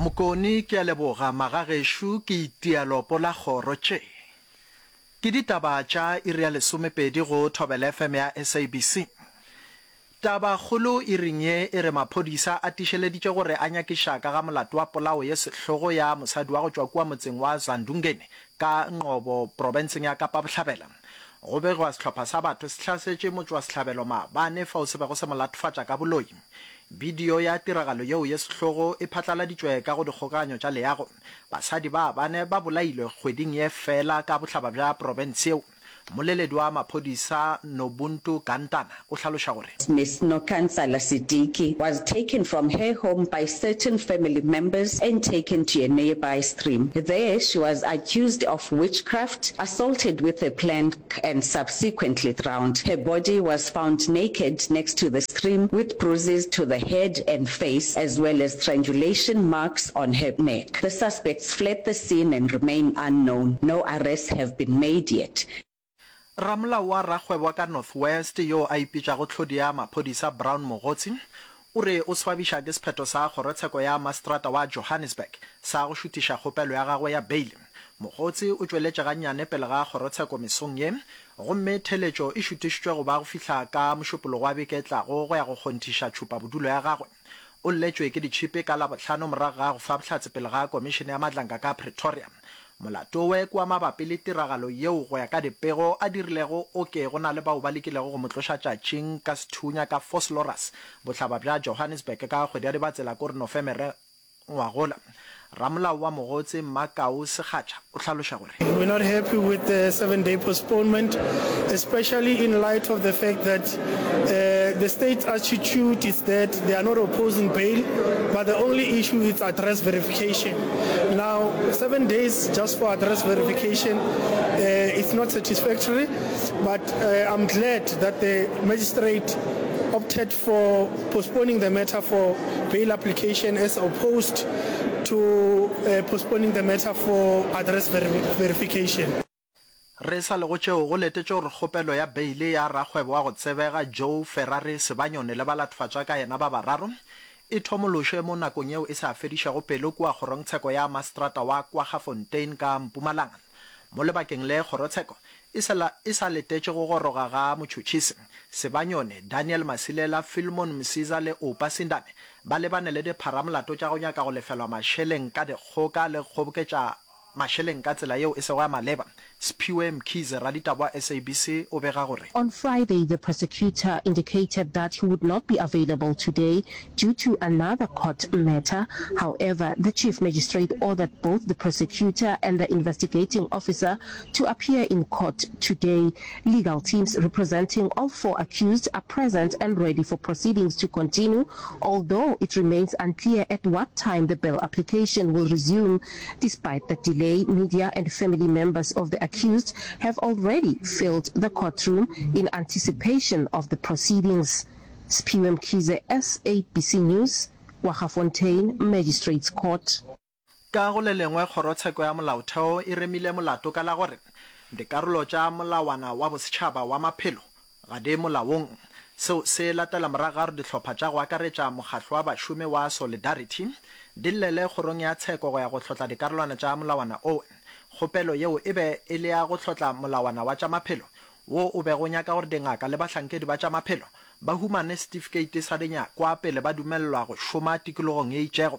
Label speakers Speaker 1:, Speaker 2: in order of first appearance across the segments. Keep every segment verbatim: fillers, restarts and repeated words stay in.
Speaker 1: Mokone, Ke a leboga magagešo, ke itia lopo la kgoro. Tše ke ditaba tša iri ya lesomepedi go Thobela F M ya S A B C. Tabakgolo iring ye e re maphodisa a tiišeleditše gore a nyakiša ka ga molato wa polao ye sehlogo ya mosadi wa go tšwa kua motseng wa Zandungeni ka Ngcobo profenseng ya Kapa Bohlabela. Go begwa sehlopha sa batho se hlasetše motšwasehlabelo maabane fao se bego se mo latofatša ka boloi. Bidio ya tiragalo yeo ye sehlogo e phatlaladitšwe ka go dikgokaganyo tša leago. Basadi ba bane ba bolailwe kgweding ye fela ka bohlaba bja profense yeo. Mmoleledi wa maphodisa Nobuntu Gantana o hlaloša gore.
Speaker 2: Miss Nokansala Sidiki was taken from her home by certain family members and taken to a nearby stream. There, she was accused of witchcraft, assaulted with a plank and subsequently drowned. Her body was found naked next to the stream with bruises to the head and face as well as strangulation marks on her neck. The suspects fled the scene and remain unknown. No arrests have been made yet.
Speaker 1: Ramolao wa rakgwebo wa ka North West yo a ipitšago tlhodi ya maphodisa Brown Mogotsi o re o swabiša ke sephetho sa kgorotsheko ya maseterata wa Johannesburg sa go šuthiša kgopelo ya gagwe ya beile. Mogotsi o tšweletše gannyane pele ga kgorotsheko mesong ye gomme theletšo e šuthišitšwe go ba go fihla ka Mošupologo wa beke e tlago go ya go kgonthiša tšhupabodulo ya gagwe. O lletšwe ke ditšhipi ka Labohlano morago ga go fa bohlatse pele ga Komišene ya Madlanka ka Pretoria. Molato we ke wa mabapi le tiragalo yeo go ya ka dipego a dirilego o ke go na le bao ba lekilego go mo tloša tšatšing ka sethunya ka Vosloorus, bohlaba bja Johannesburg ka kgwedi ya Dibatsela kore Nofemere ngwagola. Ramolao wa Mogotsi Mmakau Sekgatša o hlaloša gore.
Speaker 3: We're not happy with the seven day postponement, especially in light of the fact that uh, the state's attitude is that they are not opposing bail, but the only issue is address verification. Now, seven days just for address verification, uh, it's not satisfactory, but uh, I'm glad that the magistrate opted for postponing the matter for bail application as opposed to uh, postponing the matter for address ver verification.
Speaker 1: Re sa le go tšeo, go letetšwe gore kgopelo ya beile ya rakgwebo wa go tsebega Joe Ferrari Sebanyoni le balatofatšwa ka yena ba bararo e thomološwe mo nakong yeo e sa fedišego pelo kua kgorongtsheko ya maseterata wa Kwaggafontein ka Mpumalanga. Mo lebakeng le kgorotsheko e sa e sa letetše go goroga ga motšhotšhisi. Sebanyoni, Daniel Masilela, Philemon Msiza le Oupa Sindane ba lebane le dipharamolato tša go nyaka go lefelwa mašeleng ka dikgoka le go kgoboketša mašeleng ka tsela yeo e sego ya maleba. Sphiwe Mkhize, raditaba wa S A B C o bega gore.
Speaker 4: On Friday, the prosecutor indicated that he would not be available today due to another court matter. However, the chief magistrate ordered both the prosecutor and the investigating officer to appear in court today. Legal teams representing all four accused are present and ready for proceedings to continue, although it remains unclear at what time the bail application will resume. Despite the delay, media and family members of the accused have already filled the courtroom in anticipation of the proceedings. Sphiwe Mkhize, S A B C News, Kwaggafontein Magistrates Court.
Speaker 1: Ka go le lengwe, Kgorotsheko ya Molaotheo e remile molato ka la gore dikarolo tša Molawana wa Bosetšhaba wa Maphelo ga di molaong. Seo se latela morago ga gore dihlopha tša go akaretša mokgatlo wa bašomi wa Solidarity di llele kgorong ya tsheko go ya go hlotla dikarolwana tša molawana oo. Kgopelo yeo e be e le ya go hlotla molawana wa tša maphelo wo o bego o nyaka gore dingaka le bahlankedi ba tša maphelo ba humane setifikeiti sa dinyakwa pele ba dumelelwa go šoma tikologong ye itšego.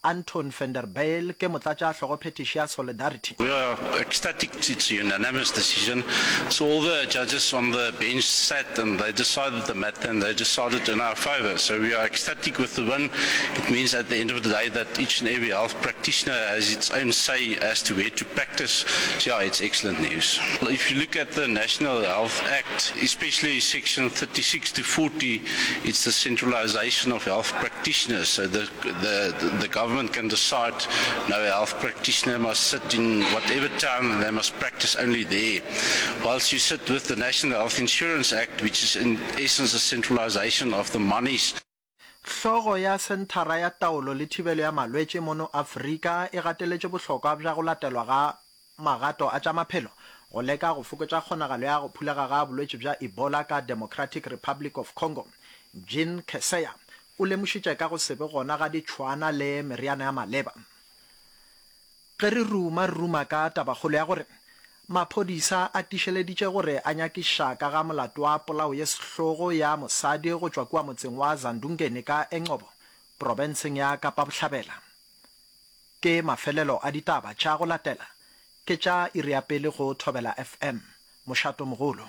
Speaker 1: Anton van der Bijl ke motlatšahlogophethiši ya Solidarity.
Speaker 5: We are ecstatic, it's a unanimous decision. So all the judges on the bench sat and they decided the matter and they decided in our favour. So we are ecstatic with the win. It means at the end of the day that each and every health practitioner has its own say as to where to practice. So yeah, it's excellent news. If you look at the National Health Act, especially section thirty-six to forty, it's the centralization of health practitioners. So the, the, the government can decide no health practitioner must sit in whatever town and they must practice only there. Whilst you sit with the National Health Insurance Act, which is in essence a centralization of the monies.
Speaker 1: Hlogo ya Senthara ya Taolo le Thibelo ya Malwetši mono Afrika e gateletše bohlokwa bja go latelwa ga magato a tša maphelo go leka go fokotša kgonagalo ya go phulega ga bolwetši bja Ebola ka Democratic Republic of Congo. Jean Kaseya, o lemošitše ka go se be gona ga ditšhwaana le meriana ya maleba. Ge re ruma, re ruma ka tabakgolo ya gore maphodisa a tiišeleditše gore a nyakišiša ka ga molato wa polao ye sehlogo ya mosadi go tšwa kua motseng wa Zandungeni ka Engcobo, profenseng ya Kapa Bohlabela. Ke mafelelo a ditaba tša go latela ke tša iri ya pele go Thobela F M, mošatomogolo.